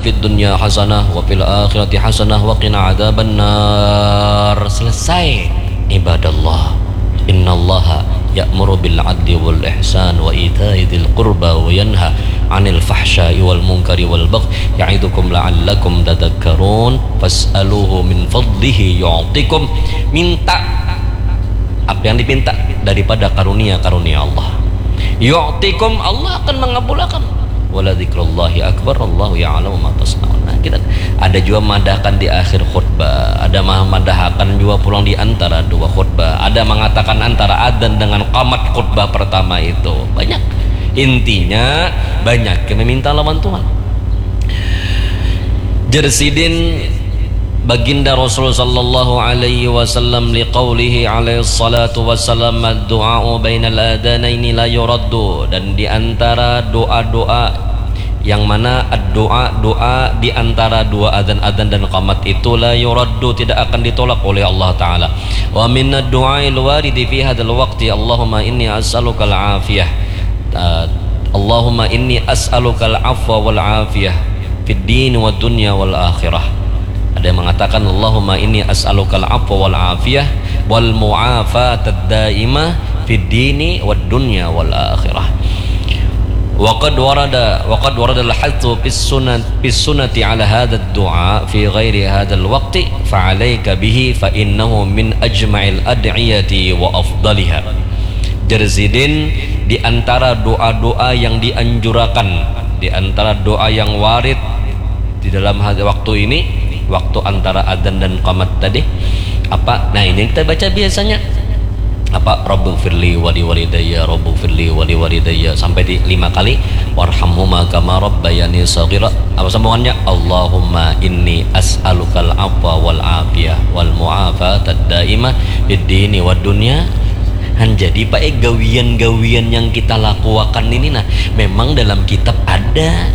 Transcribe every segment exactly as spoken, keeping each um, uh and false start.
fid dunya hasanah wa fil akhirati hasanah wa qina adzabannar. Selesai. Ibadallah, innallaha ya'muru bil adli wal ihsan wa ita'i dzil qurba wa yanha 'anil fahsya'i wal munkari wal baghi ya'idukum la'allakum tadzakkarun. Fas'aluhu min fadlihi yu'tikum. Minta apa yang dipinta daripada karunia-karunia Allah. Yu'tikum, Allah akan mengabulakan. Wala dzikrullahi akbar, Allahu ya'lamu ma tasna'un. Nah, kita ada juga madahkan di akhir khutbah, ada mah-, madahakan juga pulang di antara dua khutbah, ada mengatakan antara adzan dengan qamat khutbah pertama itu. Banyak. Intinya, banyak yang meminta lawan Tuhan. Jer sidin Baginda Rasul sallallahu alaihi wasallam liqaulihi alaihi salatu wasallam, "Ad-du'a'u bainal adanaini la yuraddu." Dan di antara doa-doa yang mana ad-du'a, doa di antara dua adzan-adzan dan qamat itu la yuraddu, tidak akan ditolak oleh Allah Ta'ala. Wa minad du'ail waridi fi hadzal waqti, Allahumma inni as'alukal afiyah. Uh, Allahumma inni as'alukal afwa wal afiyah fid dini wad dunya wal akhirah. Ada yang mengatakan, "Allahumma inni as'alukal afwa wal afiyah wal mu'afatad daimah fid dini wad dunya wal akhirah." Wa qad warada, wa qad warada al-hathu fis sunnat, fis sunnati ala hadzal du'a fi ghairi hadzal waqti, fa alaika bihi fa innahu min ajma'il ad'iyati wa afdaliha. Jer sidin, di antara doa-doa yang dianjurakan, di antara doa yang warid di dalam had-, waktu ini, waktu antara adzan dan qamat tadi, apa? Nah, ini yang kita baca biasanya. Apa? "Rabbighfirli wali walidayya, Rabbighfirli wali walidayya," sampai di lima kali. "Warhamhuma kama rabbayani shaghira." Apa sambungannya? "Allahumma inni as'alukal afwa wal afiyah wal mu'afatad daimah fid dini wad dunya." Han, jadi, Pak, eh, gawian-gawian yang kita lakuakan ini, nah, memang dalam kitab ada.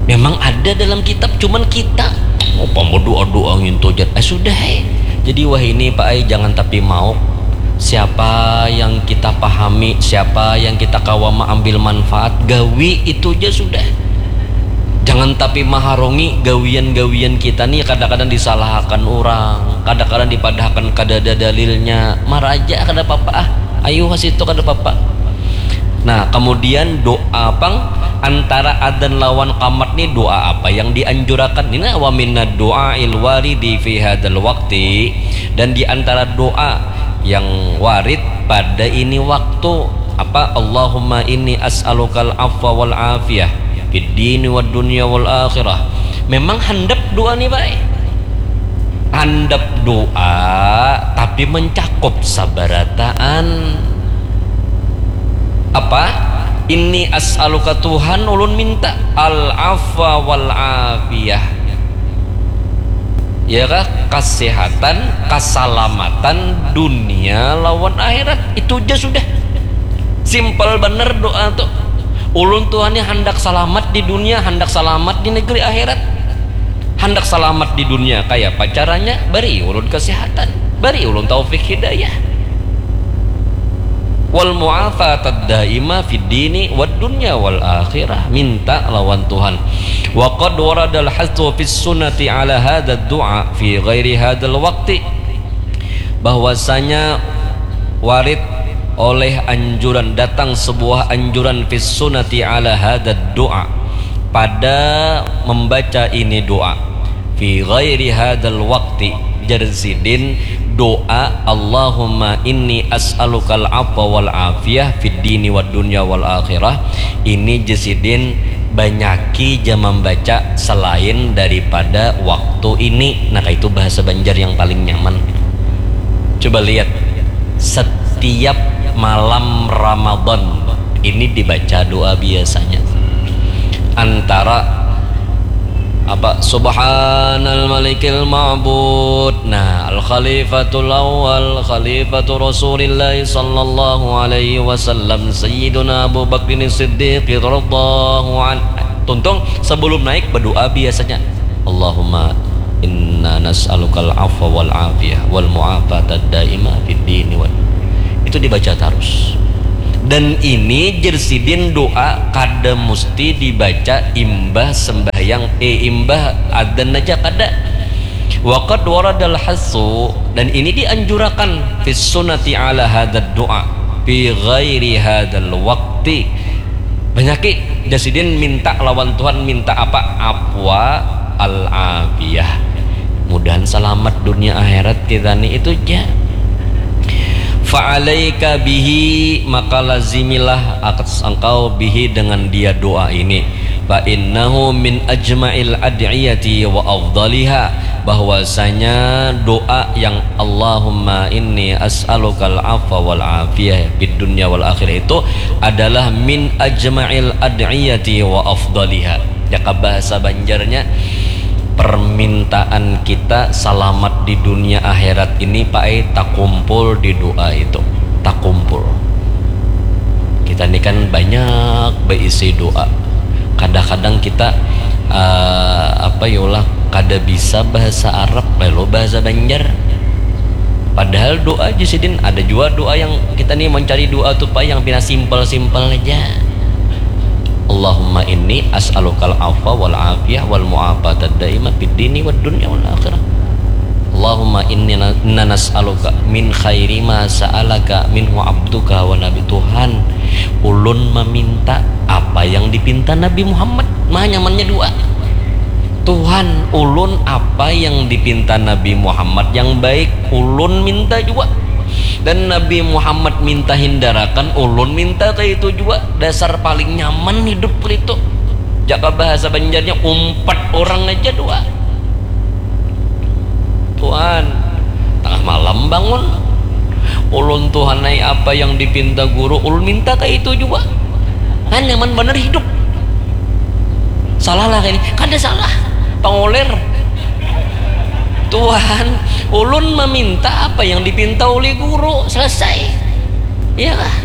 Memang ada dalam kitab, cuman kita, oh, pama doa-doa ngintu jat. Eh, sudah, eh. Jadi, wah, ini, Pak, eh, jangan tapi mauk. Siapa yang kita pahami, siapa yang kita kawa maambil manfaat, gawi itu ja sudah. Jangan tapi maharongi gawian-gawian kita ni, kadang-kadang disalahakan urang, kadang-kadang dipadahakan kadada dalilnya, maraja kada papa ah, ayu ha situ kada papa. Nah, kemudian doa pang antara adzan lawan qamat ni, doa apa yang dianjurakan? Ini, "Wa minad du'ail waridi fi hadzal waqti," dan di antara doa yang warid pada ini waktu, apa? "Allahumma inni as'alukal afwa wal afiyah fid dini wad dunya wal akhirah." Memang handap doa ni, Pak. Handap doa, tapi mencakup sabarataan. Apa? "Inni as'aluka," Tuhan, ulun minta, "al afwa wal afiyah." Ya kah? Kasehatan, kasalamatan dunia lawan akhirat. Itu ja sudah. Simpel banar doa tu. Ulun, Tuhan, ni handak salamat di dunia, handak salamat di negeri akhirat. Handak salamat di dunia, kayapa caranya? Bari ulun kasehatan, bari ulun taufik hidayah. Wal mu'afatad daimah fid dini wad dunya wal akhirah. Minta lawan Tuhan. Wa qad waradal hathu fis sunnati ala hadzal du'a fi ghairi hadzal waqti. Bahwasanya warid oleh anjuran, datang sebuah anjuran fis sunnati ala hadzal du'a, pada membaca ini doa. Fi ghairi hadzal waqti, jar sidin, doa "Allahumma inni as'alukal afwa wal afiyah fid dini wad dunya wal akhirah." Ini, jar sidin, banyaki ja mambaca selain daripada waktu ini. Nah, kaitu bahasa Banjar yang paling nyaman. Coba lihat, setiap malam Ramadan ini dibaca doa biasanya. Antara apa? "Subhanal Malikil Ma'bud." Nah, Al Khalifatul Awal, Khalifatu Rasulillah sallallahu alaihi wasallam, Sayyiduna Abu Bakrin Siddiq radhiyallahu anhu. Tuntung, sebelum naik berdoa biasanya, "Allahumma inna nas'alukal afwa wal afiyah wal mu'afatad daimah fid dini wal." Itu dibaca terus. Dan ini jer sidin doa kada musti dibaca imbah sembahyang, eh, imbah adzan aja kada. Wa qad waradal hassu, dan ini dianjurakan, fis sunnati ala hadzad du'a fi ghairi hadzal waqti. Banyaki jar sidin minta lawan Tuhan, minta apa? Afwa al afiyah. Mudahan salamat dunia akhirat kita ni itu ja. Fa'alaika bihi, maka lazimilah atas engkau, bihi, dengan dia doa ini. Fa innahu min ajma'il ad'iyati wa afdaliha, bahwasanya doa yang Allahumma inni as'alukal afwa wal afiyah fid dunya wal akhirah itu adalah min ajma'il ad'iyati wa afdaliha. Jaka bahasa Banjarnya, permintaan kita salamat di dunia akhirat ini, Pak, eh, takumpul di doa itu. Takumpul. Kita ni kan banyak beisi doa. Kadang-kadang kita, eh, apa ya lah, kada bisa bahasa Arab, lalu bahasa Banjar. Padahal doa aja sidin, ada juga doa yang kita nih mencari doa tuh, Pak, yang pina simpel-simpel aja. Allahumma inni as'alukal afwa wal afiyah wal mu'afata daimah fid dini wad dunya wal akhirah. Allahumma inni na-, inna nas'aluka min khairi ma sa'alaka minhu abduka wa nabi. Tuhan, ulun meminta apa yang dipinta Nabi Muhammad. Mah nyamannya doa. Tuhan, ulun apa yang dipinta Nabi Muhammad yang baik, ulun minta juga. Dan Nabi Muhammad minta hindarakan, ulun minta kayak itu juga. Dasar paling nyaman hidup itu. Jaka bahasa Banjarnya, umpat orang aja doa. Tuhan, tengah malam bangun. Ulun, Tuhan ai, apa yang dipinta guru, ulun minta kayak itu juga. Kan nyaman bener hidup. Salah lah ini, kada salah. Pangoler. Tuhan, ulun meminta apa yang dipinta oleh guru, selesai. Iya kah?